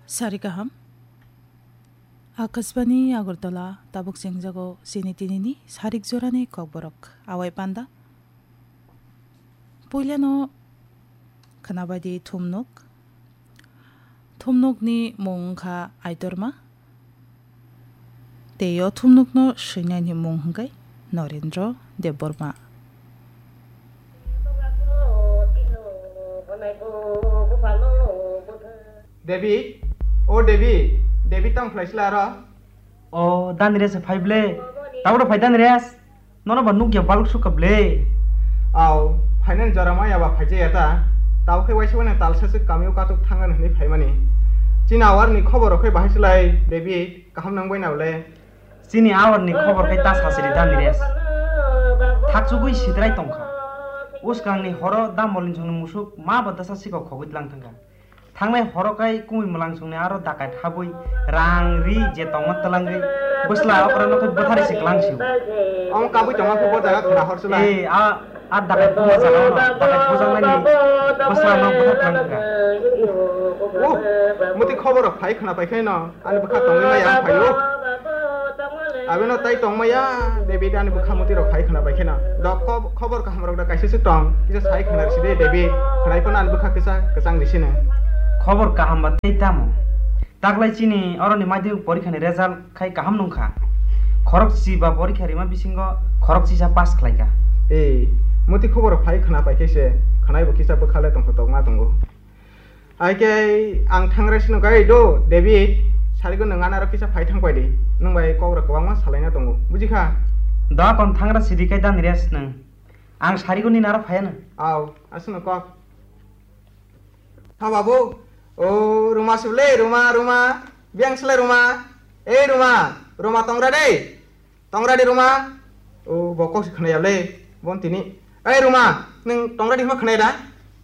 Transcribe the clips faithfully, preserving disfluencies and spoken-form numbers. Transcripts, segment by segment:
Sari kaham. Akashbani Agartala, tabuk chengjago chini tinini sarik jorani kokborok. Awai panda. Puilano khwnabadi thumnuk. Thumnukni mung wngkha Aitorma. Tei o thumnukno swinani mung hwnkhe Norendra Debbarma. David, o David, David tamo khlai sila aro? O, Daniresh phai ble. Tabuk phai Daniresh. Nono ba nukya baluk sukha ble. Au, phainani jora maya ba phaijaya ta. Tabo khe waisa wani talsa se kamio katuk thangan hwnwi phaimani. Chini awarni khobor rok khe bahai se lai, David, kaham nang bai na ble? Chini awarni khobor khe ta sasiri Daniresh. Thakchugwi sidrai tongkha. Uskangni horo Dambolni songni musuk ma ba dasa sikok khogwi tlang thangkha. Thangnai horo kai kumui mwlang songni aro dakai thabwi rang ri je tongma twlangwi bwsla okra no khe bwthari se kwlang sio. Omo kabui tongma khe bo jaga khwna hor sula. Eh, a, a dakai buma jaga no, dakai bujang nani bwsla no bwthar kwlang kha. Oh, muti khobor rok phai khwna pai khe no, ani bwkha tongwi maya ang phaio. Abino tai tongmaya, David ani bwkha muti rok hai khwna bai kheno. Dok kho-, khobor kaham rok da kaisa se tong, kisa sai khwna risi de, David. Khwnai phano ani bwkha kisa kwchang risi no. Khobor kaham ba tei tamo? Taklai chini oroni madhyamik porikha ni result khai kaham nung kha. Khorok si ba porikha rima bisingo khorok sisa pass khlai kha. Ei, muti khobor phai khwna pai khe se, khwnai bo kisa bwkha le tong kho tokma tongo. Hai khe ang thangra sino gai do, David, sarigo nwng anaro kisa phai thang pai di. Nwng bai kok rok kwbangma salaina tongo, buji kha? Da kon thangra sidi kai dan rest nwng. Ang sarigo ni naro phai ano. Au, aswkno kok. Ha babu, o Ruma sibole, Ruma, Ruma, biyang sile Ruma. Ei Ruma, Ruma tongra dei. Tongradi Ruma, o bo kok se khwnaya le, bon tini. Ei Ruma, nwng tongradi hima khwnaya da?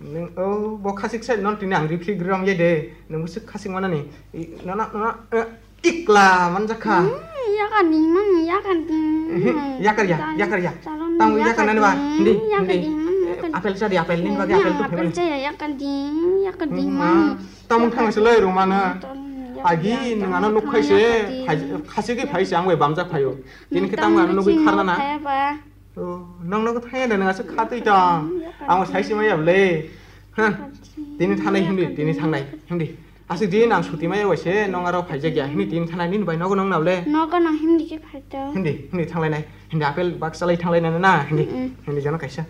Nwng o bo khasik sai non tini ang riphi gram ye de, nwng bwswk khasik manani. I, nono, nono, eh, ikla manjak kha. Hmm, yakan ding man, yakan ding. Ehe, yakar ya, yakar ya. Tamo yakar nani ba, hindi, hindi. Eh, apel sa di, apel nini bagi apel tu apel famous. Saya yakan ding, yakan ding man. Tamung thang se lai Ruma na. Agi nwng ano nuk khai se, khasi ki phai se ang bai bamjak phaio. Tini khe tamo ano nugwi kharna na. Oh, nong nogo thaya da nwng aswk kha twi tong. Ang sai se maya ble. Ha. Tini thanai hindi, tini thangnai hindi. Aswk din ang suti maya waise nong aro phaijak ya. Hindi tini thanai nini bai nogo nong na ble. Nogo nang hindi ke phaito. Hindi, hindi thanglai nai. Hindi apel bak salai thanglai nai na. Hindi, hindi jana kaisa.